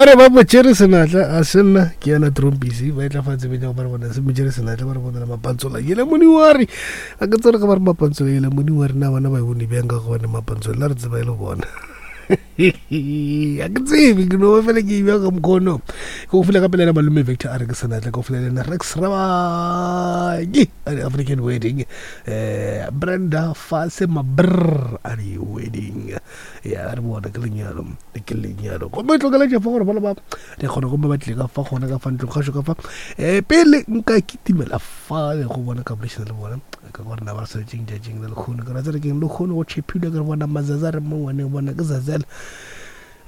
Ba re ba mo tšere senatla, a se nna, ke yena Trompisi, ba etla fa tsebeng ya go ba re bona se mo tšere senatla, ba re bonela mapantsola yele moniwari. A ke tsere ge ba re mapantsola yele moniwari, na bona ba e bone bjang ka gobane mapantsola la re tseba e le bona. A ke tsebe, ke no ba fela ke e bjang ka mokgono. Ke go file gape le yena malome Victor a re ke senatla, ke go file le yena Rex Rabaki a re African wedding. Eh, Brenda Fase Mabrr a re wedding. Ya re bona ke lenyalo. Ke lenyalo gomme tlokeletše fa gore bana ba re kgona gomme ba tlile ka fa gona ka fa ntlong kgašo ka fa um pele nka kitimela fale go bona ka bolešana le bona ka gore na ba re swanetšeng tšatšing la lekgono ke ra tsere keng lekgono go tšhephile ke re bona mazaza re mo ngwaneng bona ke zazela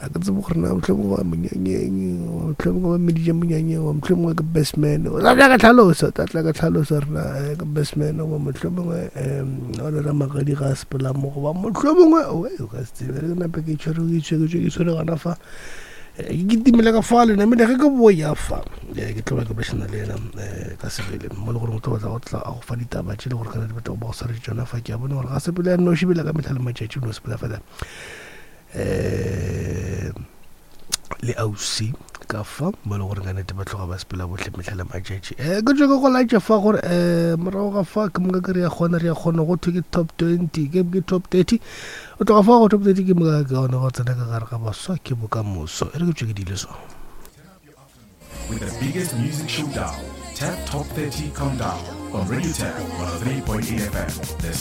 a ke tsebe gore na mohlomongwe ba monyanyeng mohlomongwe ba meditše monyanyeng goba mohlomongwe ke best man o tla tla ka tlhaloso tla tla ka tlhaloso rena eh, ke best man goba mohlomongwe um o le ramagadi ga a sepela mo goba mohlomongwe oe o ka se tsebe re ke nape ke tshwere ke tshwere ke tshwere gona fa eh, ke kitimele ka fa le namile ge ke boya fa eh, ke tlo ba ke bolešana le yena eh, ka sebele mo le gore o tlo batla go tla a go fa ditaba tše le gore kana di batla go ba go swaretse tšona fa ke a bona gore ga sepele ya noši bele ka metlha le matšatši o no sepela fela um le ausi ka fa mo e le gore ka nete ba tloga ba sepela bohle mehla le matšatši um ke tšo ke go laetša fa gore um morago ga fa ke moka ke re ya kgona re ya kgona go thwe ke top 20 ke ke top 30 o tloga fa go top 30 ke moka ke gona go tsena ka gare ga baswa ke bokamoso e re ke tšo ke dile so. With the biggest music showdown, Tap Top 30 Countdown on Radio Tap 103.8 FM. The